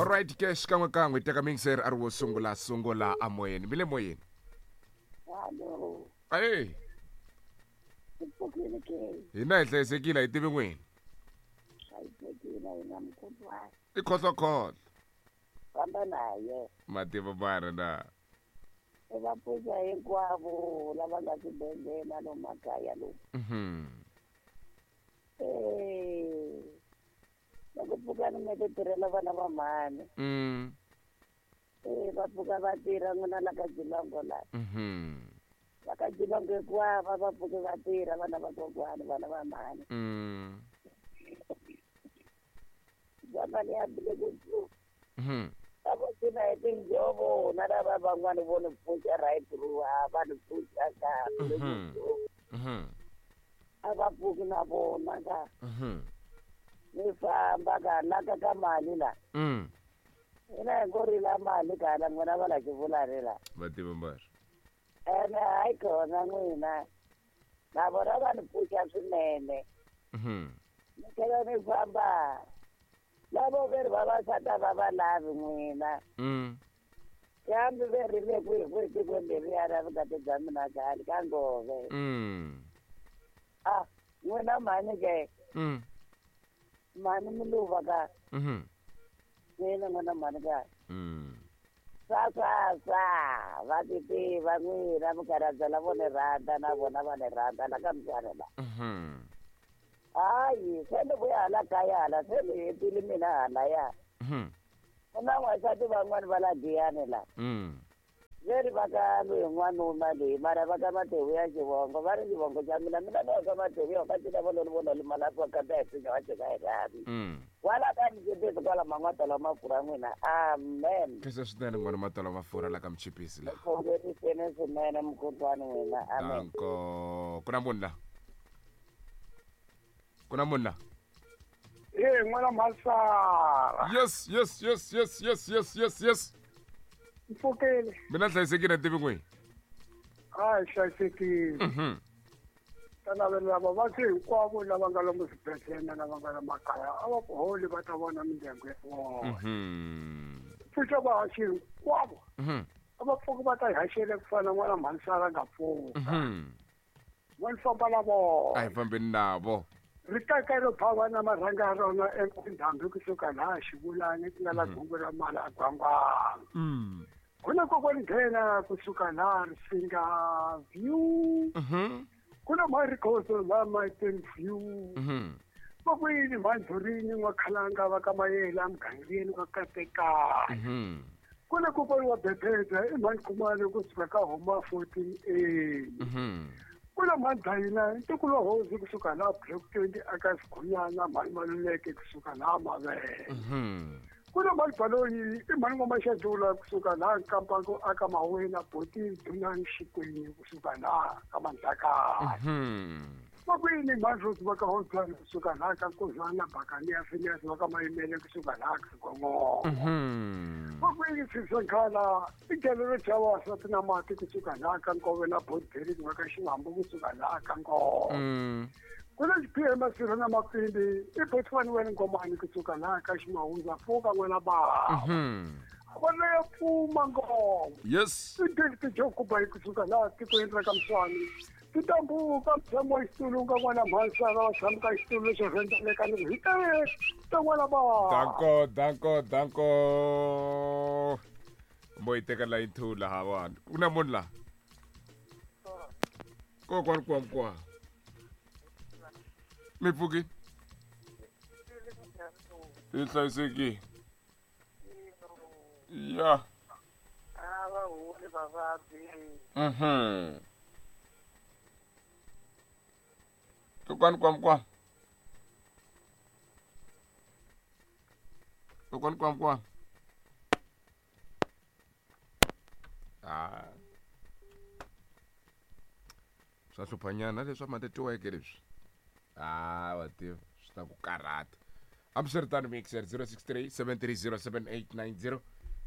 Alright ke xikan'wekan'we teka mixer a ri wo sungula sungula amoyeni mi le moyeni. Hallo. Ayi. Hi pfukile ke. Hina hi hlayisekile hi tivi n'wini. Hlayisekile hina mukhuhlwana. I khohlokhohlo. Famba naye. Mativa mara na. I va pfuxa hinkwavo lava nga swibedhlele na lomu makaya lomu. Eh. Loko pfukani mi ti tirhela vana va mhani. Eh va pfuka va tirha n'wina la ka Jilongo la. Va ka Jilongo hinkwavo va pfuke va tirha vana va kokwani vana va mhani. Zamani ya bile ku tlu. Va vo cina hi tinjhovo na lava van'wani vo ni pfuxa right through a va ni pfuxa ka bile ku tlu. A va pfuki na vona ka. Ni famba ka laka ka mali la. Hina hi ngo rila mali ka la n'wina va la xivulani la. Va tiva mbari. Ene hayi kona n'wina. Na vona va ni pfuxa swinene. Ni tlhela ni famba. Lavo ve ri vavasati a va va lavi n'wina. Kambe ve ri le kwihi kwihi tikweni leriya ra vukati bya mina khale ka ngove. Ah, n'wina mhani ke. Mhani Muluva ka. N'wina n'wina mhani ka. Swa swa swa va ti tiva n'wina mukhalabye lavo ni rhandza na vona va ni rhandza la ka mutshwana la. Hayi se ni vuya hala kaya hala se ni hetile mina halaya. Ku na n'wansati van'wani va la Giyani la. Ve ri va ka loyi n'wanuna loyi mara va ka Matewu ya xivongo va ri xivongo xa mina mina ni wa ka Matewu ya ka cina valoni vona limala swa kata hi sinya wa cina hi rhavi. Kwala ka Mchipisi kwala man'watala mafurha n'wina. Amen. Khensa swinene n'wana matala mafurha la ka Mchipisi la. Khongeriseni swinene mukhuhlwani n'wina. Amen. Danko. Ku na munhu la. Ku na munhu la. Eh n'wana Mhasara. Yes, yes, yes, yes, yes, yes, yes, yes. Mpfukile. Mina hlayisekile tivi n'wini. Hayi hlayisekile. Ta navelela vavabyi hinkwavo lava nga lomu swibedhlele na lava nga la makaya a va ku holi va ta vona mindyangu ya vona. Pfuxa vahaxi hinkwavo. A va pfuki va ta hi haxele ku fana n'wana Mhasara nga pfuka. Va ni famba na vona. A hi fambeni navo. Ri kaka ro phava na marhanga ya rona endhambi kusuka laha xivulani ku nga la gungu ra mali a gwangwana. Ku na kokwani nghena kusuka laha Risinga View. Ku na Marikhoso laha Maiteng View. Vakwini Mhandhurini N'wakhalanga va ka Mayela mugangeni wa Katekani. Ku na kokwani wa Bebeza i Mhani Khumalo kusuka ka Homa 14A. Ku na Mhani Dayina ntukulu wa hosi kusuka laha Block 20 aka Sighunyana Mhani Maluleke kusuka laha Mavele. Ku na Mhani Baloyi i Mhani N'wamaxadula kusuka laha Nkampango aka Mawena Boti Dunani Xikweni kusuka laha ka Mandlakana. Vakwini Mhani Rose va ka Holbani kusuka laha ka Nkozwana Bakani ya Phineas va ka Mayimele kusuka laha ka Gongongo. Vakwini Siswenkhala i gele ro dya vavasati na mati kusuka laha ka Nkove na Bodberi va ka Xivambu kusuka laha ka Nkove. Ku na xiphiya masirha na mapfimbi i Botswana wena Ngomani kusuka laha ka Ximawuza pfuka n'wana bava. Vona ya pfuma ngoma. Yes. I David Jokuba kusuka laha tikweni ra ka Mswani. Titambuka mutshamo wa xitulu nga n'wana Mhasara wa tshama ka xitulu lexo rhendzeleka ni ku hi ta n'wana bava. Danko, danko, danko. Mo yi teka line 2 laha vanhu. Ku na munhu laha. Kokwani kwa kwa. Mi pfuki? Hi hlayisekile. Ya. A va holi vavabyi. Kokwani kwa kwa. Kokwani kwa kwa. Ah. Swa hluphanyana leswa matetiweke leswi. Ah, wa tiva swi ta ku karhata. Hambiswiritano mixer 063 730 7890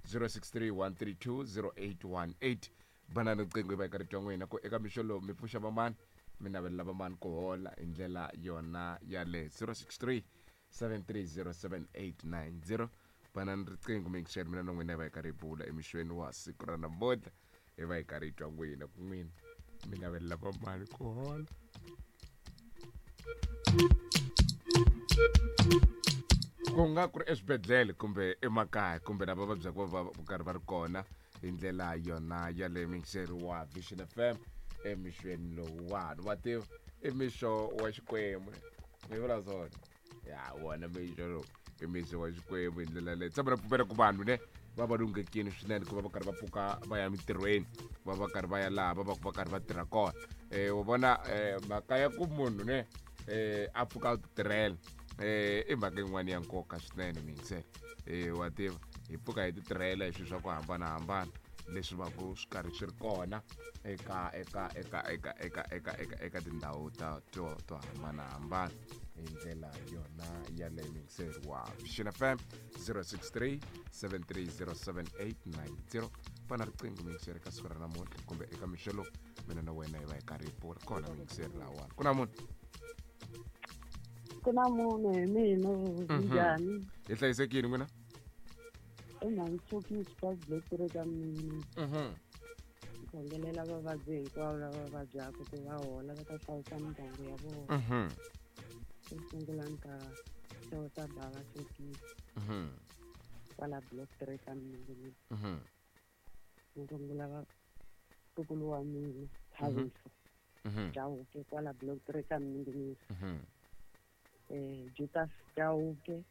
063 132 0818 banana riqingho yi va eka rito n'wina ku eka mixo lowu mi pfuxa vamani mi navelela vamani ku hola hi ndlela yona yale 063 730 7890 Banani riqingho mixer, mina na n'wina hi va hi karhi hi bula emixweni wa siku ra namuntlha, hi va hi karhi hi twa n'wina ku n'wina mi navelela va mali ku hola, ku nga ku ri eswibedhlele kumbe emakaya kumbe lava vabyaka va va karhi va ri kona hi ndlela yona yaleyo. Mixeri wa Vision FM emixweni lowuwani, wa tiva i mixo wa Xikwembu, mi vula swona ya wona mixo lowu i mixo wa Xikwembu. Hi ndlela leyi tshemba na pfumela ku vanhu ne va va lunghekile swinene ku va va karhi va pfuka va ya mintirhweni, va va karhi va ya laha va va va karhi va tirha kona. Wa vona, mhaka ya ku munhu ne a pfuka a titirhela i mhaka yin'wana ya nkoka swinene, miyingiselo. Wa tiva hi pfuka hi titirhela hi swilo swa ku hambanahambana leswi va ku swi karhi swi ri kona eka eka eka eka eka eka eka eka tindhawu ta to hambanahambana. Hi ndlela yona yaleyo, miyingiseri wa Vision FM, 063 7307890, fana riqingho, miyingiseri, ka siku ra namuntlha kumbe eka mixo lowu mina na wena hi va hi karhi hi bula kona. Miyingiseri lahawani, ku na munhu? Ku na munhu, hi mina. Njhani? Hi hlayisekile, n'wina? Emhanchukisi ka block ka mina. Khongelela vavabyi hinkwavo lava vabyaka ku va hola, va ta hlayisa mindyangu ya vona. Xo sungula ni ta xeweta bava Chokisi kwala block 3 ka mina. Ni rungula vatukulu wa mina Thabiso Chauke kwala block 3 ka Mninginisi, Jutas Chauke,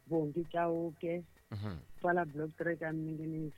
Bongi Chauke kwala block 3 ka Mninginisi.